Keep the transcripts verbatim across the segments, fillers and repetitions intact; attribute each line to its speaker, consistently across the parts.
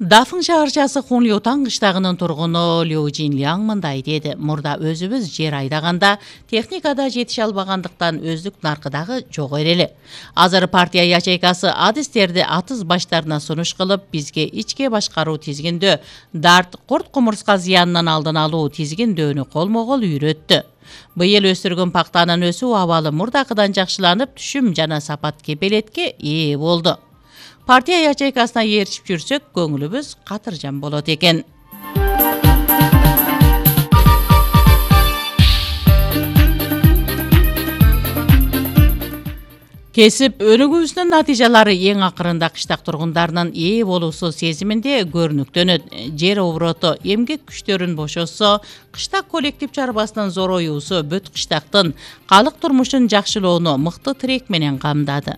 Speaker 1: Дафын шаарчасы Хунлютан кыштагынын тургуну Лю Jinliang мындай деди: мурда өзүбүз жер айдаганда техникада жетише албагандыктан өздүк наркыдагы жок эле. Азыр партия ячейкасы адистерди атыз баштарына сунуш кылып, бизге ичке башкаруу тизгиндөө, дарт, курт кумурска зыянынан алдын алуу тизгиндөөнү колмо-кол үйрөттү. Быйыл өстүргөн пактанын өсүү абалы мурдакыдан жакшыланып, түшүм жана сапат кепелетке ээ болду. Партия ячейкасына ээрчип жүрсөк, көңүлүбүз катыржан болот экен. Кесип өнүгүүбүздүн натыйжалары эң акырында кыштак тургундарынын ээ болуусу сезиминде көрүнүктөнөт. Жер обороту эмгек күчтөрүн бошосо, кыштак коллектив чарбасынын зороюусу бүт кыштактын калык турмушун жакшылоону мыкты тирек менен камдады.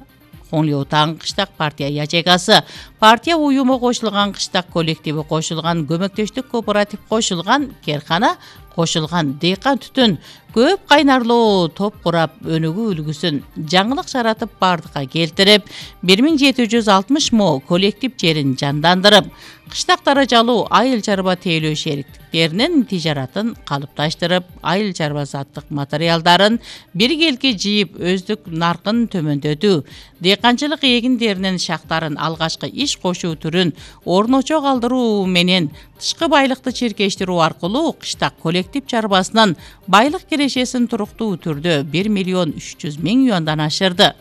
Speaker 1: Хунлютан кыштак партия ячейкасы, партия уюму кошулган, кыштак коллективи кошулган, көмөктөштүк кооператив кошулган, керкана кошулган, дыйкан түтүн көп кайнарлуу топ курап өнүгүү үлгүсүн жаңылык жаратып бардыкка келтирип, бир миң жети жүз алтымыш мо коллектив жерин жандандырып, кыштак даражалуу айыл чарба тейлөө шериктиктеринин тижаратын калыпташтырып, айыл чарба заттык материалдарын биргелки жыйып, өздүк наркын төмөндөтүү, дыйканчылык эгиндеринин шактарын алгачкы иш кошуу түрүн орночо калтыруу менен тышкы байлыкты чиркештирүү аркылуу кыштак коллектив чарбасынын байлык кирешесин туруктуу түрдө бир миллион үч жүз миң юандан ашырды.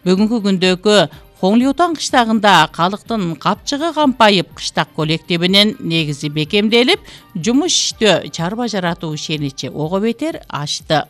Speaker 1: Бүгүнкү күндөгү Хунлютан кыштагында калктын капчыгы кампайып, кыштак коллективинин негизи бекемделип, жумуш иштөө, чарба жаратуу ишеничи ого бетер ашты.